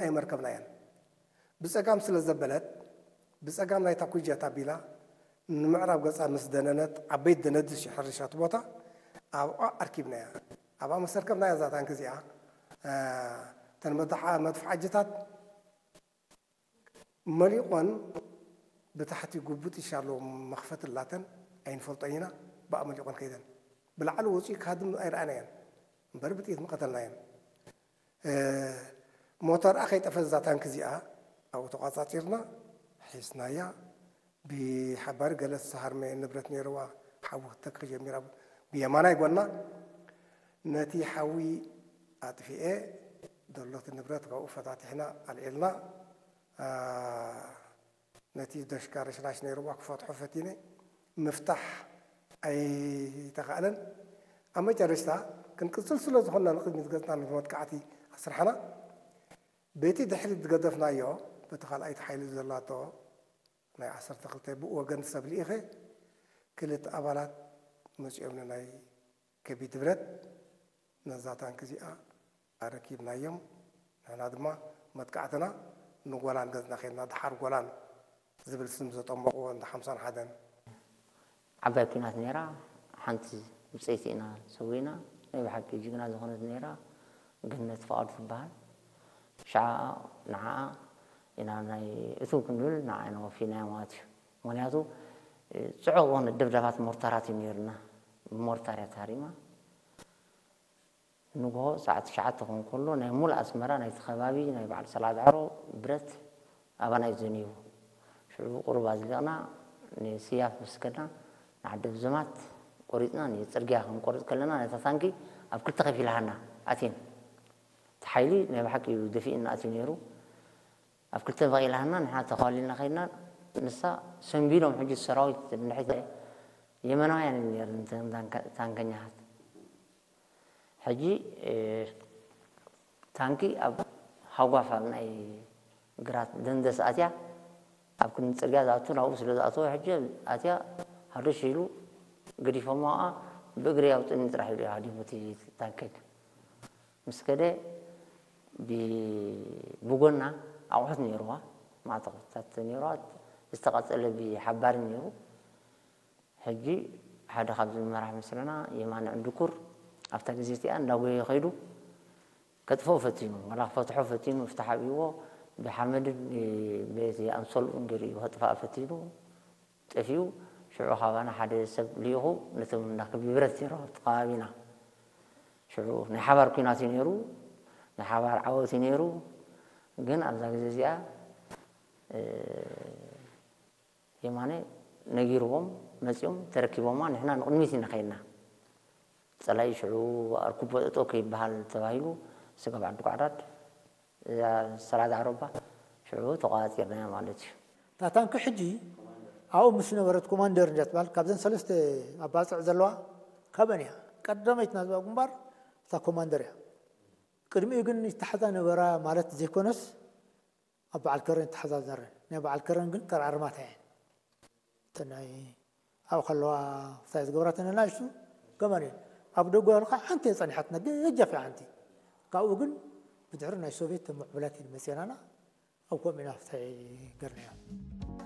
ኣይመርከብናያን። ብጸጋም ስለ ዘበለት፣ ብጸጋም ናይታ ኩጀት ኣቢላ ንምዕራብ ገጻ ምስ ደነነት፣ ዓበይቲ ደነድሽ ሕርሻ እቲ ቦታ ኣብኣ ኣርኪብናያ። ኣብኣ ምስ ኣርከብናያ እዛ ታንኪ እዚኣ፣ እ፣ እተን መድሓ-፣ መድፍዓጅታት መሊቖን ብታሕቲ ጉቡጥ ይሻሎ መኽፈት ኣላተን ኣይንፈልጦን ኢና። ብኣ መሊቖን ከይደን ብላዕሊ ወፂኡ ክሃድም ኣይረኣናየን እምበር ብጥይት ምቐተልናየን። እ፣ ሞተርኣ ከይጠፈ እዛ ታንኪ እዚኣ ኣብኡ ተቋጻጺርና ሒዝናያ። ብሓባር ገለ ዝተሃርመ ንብረት ነይርዋ፣ ሓዊ ክትተክኽ ጀሚራ። ብየማናይ ጎና ነቲ ሓዊ ኣጥፊኤ፣ ደሎቲ ንብረት ካብኡ ፈታቲሕና ኣልዒልና። ኣ፣ ነቲ ደሽካ ረሽራሽ ነይርዋ ክፈትሖ ፈቲነ፣ ምፍታሕ ኣይተኻእለን። ኣብ መጨረሽታ ክንቅጽል ስለ ዝኾንና ንቕድሚት ገጽና ነቲ መጥቃዕቲ ኣስራሕና። በቲ ድሕሪት ዝገደፍናዮ፣ በቲ ካልኣይቲ ሓይሊ ዘላቶ ናይ ዓሰርተ ክልተ ብኡ ወገን ሰብ ልኢኸ፣ ክልተ ኣባላት መጺኦም ንናይ ከቢድ ብረት ነዛ ታንኪ እዚኣ ኣረኪብናዮም። ንሕና ድማ መጥቃዕትና ንጎላን ገጽና ኸድና፣ ደሓር ጎላን ዝብል ስም ዘጠመቑዎ እንዳ ሓምሳን ሓደን። ዓባይ ኲናት ነይራ፣ ሓንቲ ብጸይቲ ኢና ሰዊእና። ናይ ብሓቂ ጅግና ዝኾነት ነይራ፣ ገነት ፍቓዱ ትበሃል። ሽዓ ንዓኣ ኢና ናይ እትው ክንብል ንዓኣ ኢና ወፊናያ ማለት እዩ። ምኽንያቱ፣ ጽዑቕ ዝኾነ ደብዳባት ሞርታራት እዩ ነይሩና። ብሞርታር እያ ተሃሪማ። ንግሆ ሰዓት ትሽዓተ ክኾን ከሎ ናይ ሙሉእ ኣስመራ ናይቲ ከባቢ ናይ በዓል ሰላዳዕሮ ብረት ኣባና እዩ ዘንይቡ። ሽዑ ቁሩብ ኣዝሊቕና ንስያፍ ምስ ከድና ንዓዲ ብዘማት ቆሪጽና ንጽርግያ ክንቆርጽ ከለና ነታ ታንኪ ኣብ ክልተ ከፊልሃና ኣትየን። እቲ ሓይሊ ናይ ብሓቂ እዩ ደፊእና ኣትዩ ነይሩ። ኣብ ክልተ መቒልሃና ንሕና ተኻሊልና ከይድና ንሳ ሰንቢዶም ሕጂ ሰራዊት እንድሕር የመናውያን እዮም ነይሮም እተን ታንከ-፣ ታንከኛታት። ሕጂ፣ እ፣ ታንኪ ኣብ ሃጓፍ ኣብ ናይ ግራት ደንደስ ኣትያ፣ ኣብ ክንዲ ጽርግያ ዝኣቱ ናብኡ ስለ ዝኣተወ፣ ሕጂ ኣትያ ሃደሽ ኢሉ ገዲፎማ፣ ብእግሪ ኣውጥኒ ጥራሕ ኢሉ እዩ ሃዲሙ እቲ ታንከኛ። ምስ ከደ ብ-፣ ብጎና ኣቑሑት ነይርዋ፣ ማዕተቑታት ነይርዋ፣ ዝተቐጸለ ብሓባሪ ነይሩ። ሕጂ ሓደ ካብዚ መራሕ ምስለና የማነ ዕንድኩር ኣብታ ግዜ እቲኣ እንዳጎየ ከይዱ ከጥፍኦ ፈቲኑ፣ ዋላ ክፈትሖ ፈቲኑ፣ ፍታሕ ኣብይዎ ብሓመድን በቲ ኣንሶልኡን ገይሩ እዩ ከጥፍኣ ፈቲኑ፣ ጠፊኡ። ሽዑ ካባና ሓደ ሰብ ልኢኹ ነቶም እንዳ ክቢ ብረት ነይሮም ኣብቲ ከባቢና። ሽዑ ናይ ሓባር ኲናት እዩ ነይሩ፣ ናይ ሓባር ዓወት እዩ ነይሩ። ግን ኣብዛ ግዜ እዚኣ፣ እ፣ የማነ ነጊርዎም መጺኦም ተረኪቦማ፣ ንሕና ንቕድሚት ኢና ከይድና። ጸላኢ ሽዑ ኣርኩቦ ጠጠው ከይበሃል ተባሂሉ ስጋብ ዓዲ ጓዕዳድ፣ እዛ ሰላዳ ዓሮባ ሽዑ ተቋጺርናያ ማለት እዩ። እታ ታንኪ ሕጂ ኣብኡ ምስ ነበረት ኮማንደር እንድያ ትበሃል፣ ካብዘን ሰለስተ ኣባጽዕ ዘለዋ ካበን እያ። ቀዳመይቲ ናዝባ ግንባር እታ ኮማንደር እያ። ቅድሚኡ ግን ይተሓዛ ነበራ ማለት ዘይኮነስ፣ ኣብ በዓል ከረን ይተሓዛ ዝነበረ። ናይ በዓል ከረን ግን ከረኣርማታ እየን። እተን ናይ ኣብኡ ከለዋ ክሳይ ዝገብራተን ንኣሽቱ ገመል እየን። ኣብ ደጎ ከለኻ ሓንቲ እየ ጸኒሓትና፣ ገጃፍ እያ ሓንቲ። ካብኡ ግን ብድሕሪ ናይ ሶቪየት ተምዕብላት እየን መጺኣናና። ኣብ ከምኡ ኢና ፍትሒ ገርናዮ።